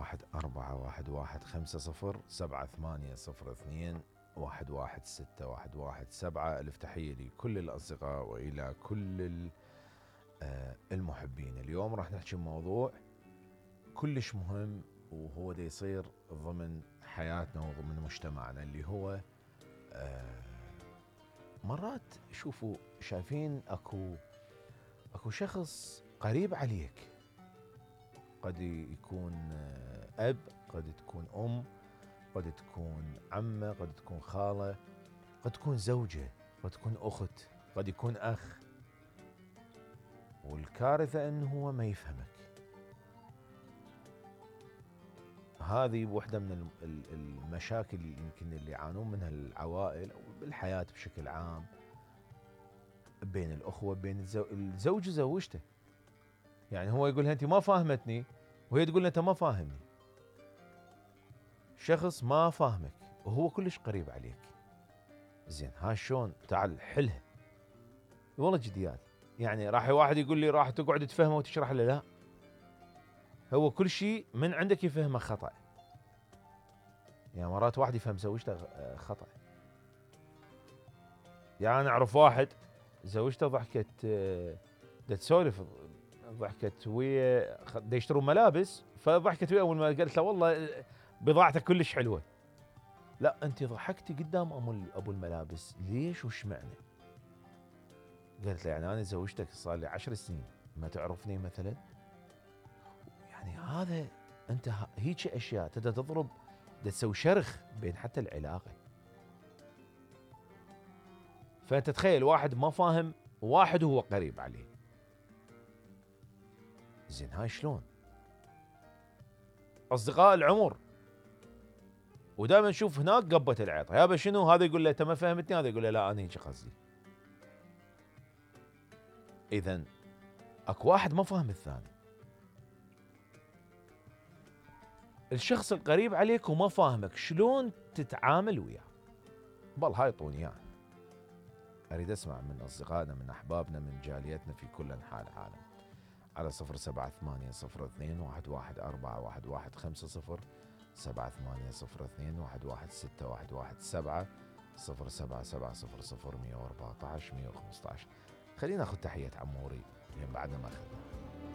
11481507861117. ألف تحية لكل الأصدقاء وإلى كل المحبين. اليوم راح نحكي موضوع كلش مهم، وهو دا يصير ضمن حياتنا وضمن مجتمعنا، اللي هو مرات شوفوا شايفين اكو شخص قريب عليك، قد يكون اب، قد تكون ام، قد تكون عمه، قد تكون خاله، قد تكون زوجه، قد تكون اخت، قد يكون اخ، والكارثه انه هو ما يفهمك. هذه واحدة من المشاكل يمكن اللي يعانون منها العوائل أو بالحياة بشكل عام، بين الأخوة، بين الزوج وزوجته. يعني هو يقولها أنت ما فاهمتني، وهي تقول له أنت ما فاهمني. شخص ما فاهمك وهو كلش قريب عليك، زين ها شلون؟ تعال حلها. والله جديات. يعني راح واحد يقول لي راح تقعد تفهمه وتشرح له، لا، هو كل شيء من عندك يفهمه خطأ. يعني مرات واحد يفهم زوجته خطأ. يعني أنا أعرف واحد زوجته ضحكت، دا تسولف، ضحكت ويا دا يشترون ملابس، فضحكت ويا أول ما قالت له والله بضاعتك كلش حلوة. لا أنت ضحكتي قدام أبو الملابس، ليش وش معنى؟ قالت له يعني أنا زوجتك صار لي 10 سنين ما تعرفني مثلا؟ يعني هذا أنت هيك أشياء تبدأ تضرب، دا تسوي شرخ بين حتى العلاقة. فأنت تخيل واحد ما فاهم واحد وهو قريب عليه، زين هاي شلون؟ أصدقاء العمر، ودائما نشوف هناك قبة العيط، يابا شنو؟ هذا يقول له أنت ما فهمتني، هذا يقول له لا أنا هيك قصدي. إذن أكو واحد ما فاهم الثاني. الشخص القريب عليك وما فاهمك، شلون تتعامل وياه؟ بل هاي طوني إياه. أريد أسمع من أصدقائنا، من أحبابنا، من جاليتنا في كل أنحاء العالم، على 078021141150، 7802116117، 0777000114 115. خلينا ناخذ تحية عموري بعد ما أخذنا.